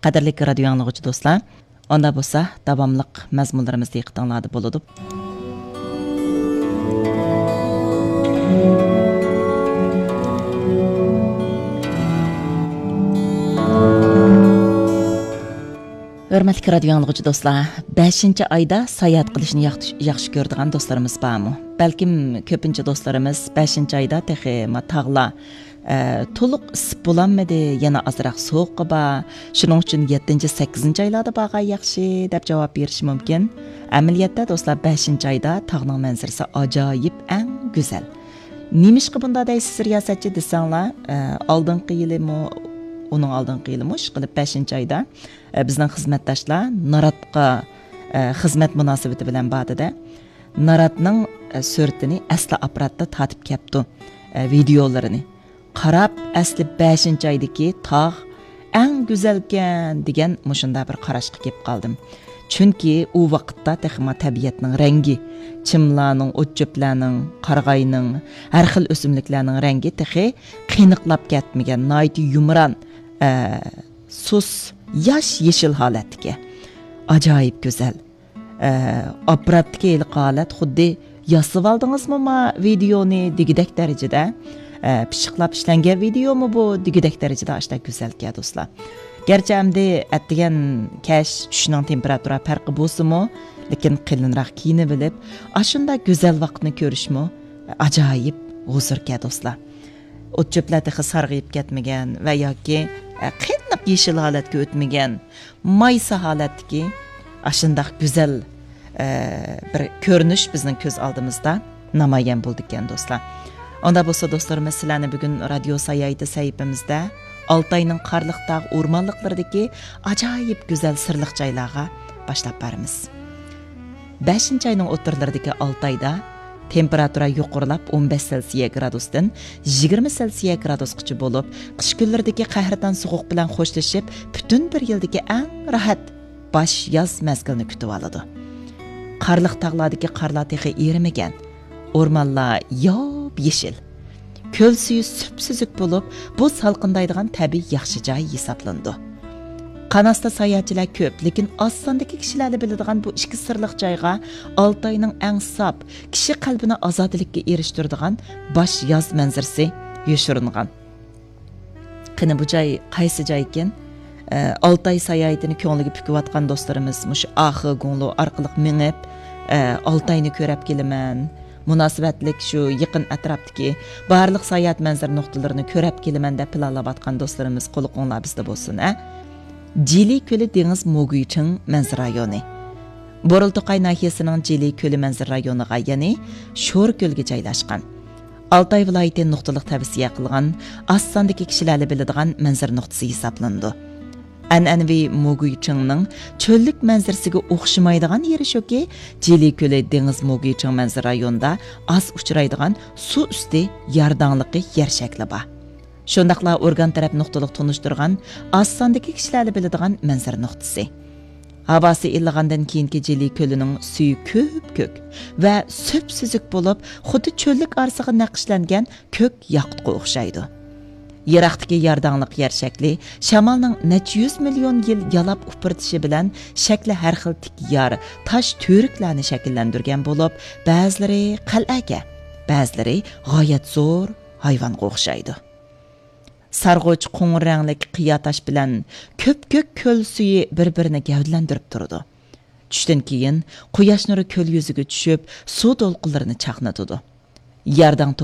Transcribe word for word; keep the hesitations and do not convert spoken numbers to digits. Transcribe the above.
قەدىرلىك رادىيو ئاڭلىغۇچى دوستلار، ئاندا بولسا داۋاملىق مەزمۇنلىرىمىز دىققىتىڭلاردا بولىدۇ. ھۆرمەتلىك رادىيو ئاڭلىغۇچى دوستلار، بەشىنچى ئايدا ساياھەت قىلىشنى ياخشى، ياخشى كۆرىدىغان دوستلىرىمىز بارمۇ؟ بەلكىم كۆپىنچە دوستلىرىمىز بەشىنچى ئايدا تېخى ما تاغلار، ئە، تولۇق ئىسسىپ بولالمىدى، يەنە ئازراق سوغۇقى بار، شۇنىڭ ئۈچۈن يەتتىنچى، سەككىزىنچى ئايلاردا بارغان ياخشى، دەپ جاۋاب بېرىشى مۇمكىن. ئەمەلىيەتتە دوستلار، بەشىنچى ئايدا تاغنىڭ مەنزىرىسى ئاجايىپ، ئەڭ گۈزەل. نېمىشقا بۇنداق دەيسىز رىياسەتچى دېسەڭلار، ئە، ئالدىنقى يىلىمۇ، ئۇنىڭ ئالدىنقى يىلىمۇ ئىشقىلىپ بەشىنچى ئايدا، ئە، بىزنىڭ خىزمەتداشلار ناراتقا، ئە، خىزمەت مۇناسىۋىتى بىلەن باردى-دە، ناراتنىڭ، ئە، سۈرىتىنى ئەسلى ئاپپاراتتا تارتىپ كەپتۇ، ئە، ۋىدېئولىرىنى. قاراپ، ئەسلى بەشىنچى ئايدىكى تاغ ئەڭ گۈزەلكەن دېگەن مۇشۇنداق بىر قاراشقا كېلىپ قالدىم. چۈنكى ئۇ ۋاقىتتا تېخىمۇ تەبىئەتنىڭ رەڭگى، چىملارنىڭ، ئوت-چۆپلەرنىڭ، قارىغاينىڭ، ھەر خىل ئۆسۈملۈكلەرنىڭ رەڭگى تېخى قېنىقلاپ كەتمىگەن، ناھايىتى يۇمران، ئە، سۇس، ياش يېشىل ھالەتتىكى. ئاجايىپ گۈزەل. ئە، ئاپپاراتتىكى ھېلىقى ھالەت خۇددى «ياسىۋالدىڭىزمۇ ما ۋىدېئونى؟» دېگۈدەك دەرىجىدە، ئە، پىششىقلاپ ئىشلەنگەن ۋىدېئومۇ بۇ دېگۈدەك دەرىجىدە ئاشتا گۈزەلكەن دوستلار. گەرچە ئەمدى ئەتىگەن كەچ چۈشنىڭ تېمپېراتۇرا پەرقى بولسىمۇ، لېكىن قېلىنراق كىيىنىۋېلىپ، ئاشۇنداق گۈزەل ۋاقىتنى كۆرۈشمۇ ئاجايىپ ھۇزۇركەن دوستلار. ئوت-چۆپلەر تېخى سارغىيىپ كەتمىگەن ۋە ياكى، ئە، قېنىق يېشىل ھالەتكە ئۆتمىگەن، مايسا ھالەتتىكى ئاشۇنداق گۈزەل، ئە، بىر كۆرۈنۈش بىزنىڭ كۆز ئالدىمىزدا نامايان بولىدىكەن، دوستلار. ئۇنداق بولسا، دوستلىرىمىز، سىلەرنى بۈگۈن رادىيو ساياھىتى سەھىپىمىزدە ئالتاينىڭ قارلىق تاغ ئورمانلىقلىرىدىكى ئاجايىپ گۈزەل سىرلىق جايلارغا باشلاپ بارىمىز. بەشىنچى ئاينىڭ ئوتتۇرىلىرىدىكى ئالتايدا تېمپېراتۇرا يۇقىرىلاپ، ئون بەش سېلسىيە گرادۇستىن يىگىرمە سېلسىيە گرادۇسقىچە بولۇپ، قىش كۈنلىرىدىكى قەھرىتان سوغۇق بىلەن خوشلىشىپ، پۈتۈن بىر يىلدىكى ئەڭ راھەت باش ياز مەزگىلىنى كۈتۈۋالىدۇ. قارلىق تاغلاردىكى قارلار تېخى ئېرىمىگەن. ئورمانلار ياپيېشىل. كۆل سۈيى سۈپسۈزۈك بولۇپ، بۇ سالقىندايدىغان تەبىئىي ياخشى جاي ھېسابلىنىدۇ. قاناستا ساياھەتچىلەر كۆپ، لېكىن ئاز ساندىكى كىشىلەرلا بىلىدىغان بۇ ئىككى سىرلىق جايغا ئالتاينىڭ ئەڭ ساپ، كىشى قەلبىنى ئازادىلىككە ئېرىشتۈرىدىغان باش ياز مەنزىرىسى يوشۇرۇنغان. قېنى، بۇ جاي قايسى جايكىن؟ ئە، ئالتاي ساياھىتىنى كۆڭلىگە پۈكۈۋاتقان دوستلىرىمىز مۇشۇ ئاخې گۇڭلۇ ئارقىلىق مېڭىپ، ئە، ئالتاينى كۆرەپ كېلىمەن، مۇناسىۋەتلىك شۇ يېقىن ئەتراپتىكى بارلىق ساياھەت مەنزىرە نۇقتىلىرىنى كۆرەپ كېلىمەن دەپ پىلانلاۋاتقان دوستلىرىمىز قۇلىقىڭلار بىزدە بولسۇن، ھە. جىلى كۆلى دېڭىز موگۈيچىڭ مەنزىرە رايونى. بورۇلتوقاي ناھىيەسىنىڭ جىلى كۆلى مەنزىرە رايونىغا، يەنى شور كۆلگە جايلاشقان. ئالتاي ۋىلايىتى نۇقتىلىق تەۋسىيە قىلغان، ئاز ساندىكى كىشىلەرلا بىلىدىغان مەنزىرە نۇقتىسى ھېسابلىنىدۇ. ئەنئەنىۋى موگۈيچىڭنىڭ چۆللۈك مەنزىرىسىگە ئوخشىمايدىغان يېرى شۇكى، جىلى كۆلى دېڭىز موگۈيچىڭ مەنزىرە رايونىدا ئاز ئۇچرايدىغان سۇ ئۈستى يارداڭلىقى يەر شەكلى بار. شۇنداقلا ئورگان تەرەپ نۇقتىلىق تونۇشتۇرغان، ئاز ساندىكى كىشىلەرلا بىلىدىغان مەنزىرە نۇقتىسى. ھاۋاسى ئىللىغاندىن كېيىنكى جىلى كۆلىنىڭ سۈيى كۆپكۆك ۋە سۈپسۈزۈك بولۇپ، خۇددى چۆللۈك ئارىسىغا نەقىشلەنگەن كۆك ياقۇتقا ئوخشايدۇ. يىراقتىكى يارداڭلىق يەر شەكلى شامالنىڭ نەچچە يۈز مىليون يىل يالاپ ئۇپرىتىشى بىلەن شەكلى ھەر خىل تىك يار، تاش تۈۋرۈكلەرنى شەكىللەندۈرگەن بولۇپ، بەزىلىرى قەلئەگە، بەزىلىرى غايەت زور ھايۋانغا ئوخشايدۇ. سارغۇچ قوڭۇر رەڭلىك قىيا تاش بىلەن كۆپكۆك كۆل سۈيى بىر-بىرىنى گەۋدىلەندۈرۈپ تۇرىدۇ. چۈشتىن كېيىن قۇياش نۇرى كۆل يۈزىگە چۈشۈپ، سۇ دولقۇنلىرىنى چاقنىتىدۇ. يارداڭ